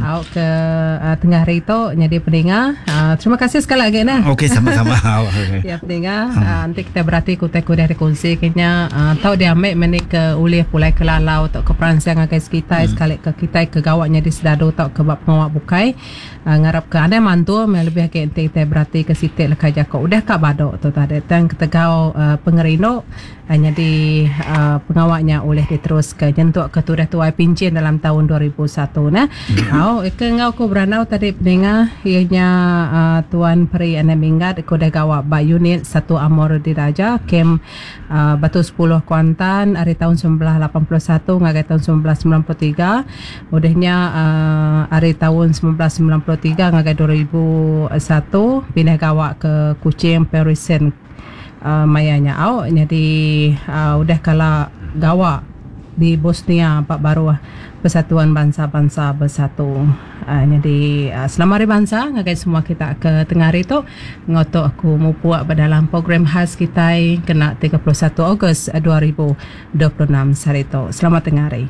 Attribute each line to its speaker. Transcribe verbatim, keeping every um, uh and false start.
Speaker 1: Au ke uh, tengah hari tu nyadi peninga. Uh, terima kasih sekali lagi nah.
Speaker 2: Okey, sama-sama.
Speaker 1: Ya peninga, hmm. uh, nanti kita berarti kutai kudah dikongsi kayaknya uh, tau diambil menik ke ulih pulai ke lalau atau ke peransang ngagai sekitar hmm. sekali ke kita ke gawaknya di sedadu atau ke bab pengawak bukai. Uh, ngarap ke anda mantu me lebih ke enti kita berarti ke sitik leka jako udah ka badok tu tadi tang ketegau uh, pengerindu uh, jadi uh, pengawaknya oleh diterus ke nyentuk ke tudah tuai pincin dalam tahun dua ribu satu nah. Hmm. Au ke ngau ku beranau tadi peninga ianya uh, Tuan Peri Anak Minggat ku dah gawak ba unit satu Amor Diraja kem uh, Batu sepuluh Kuantan hari tahun seribu sembilan ratus lapan puluh satu ngagai tahun seribu sembilan ratus sembilan puluh tiga udahnya uh, hari tahun seribu sembilan ratus sembilan puluh tiga ngagai dua ribu satu pindah gawak ke Kuching Perisen uh, mayanya au jadi uh, udah kala gawak di Bosnia Pak Baruah Persatuan Bangsa-Bangsa Bersatu. Uh, jadi uh, selamat hari bangsa ngagai semua kita ke tengah hari tu ngotok aku mupuak dalam program khas kita kena tiga puluh satu Ogos dua ribu dua puluh enam hari tu. Selamat tengah hari.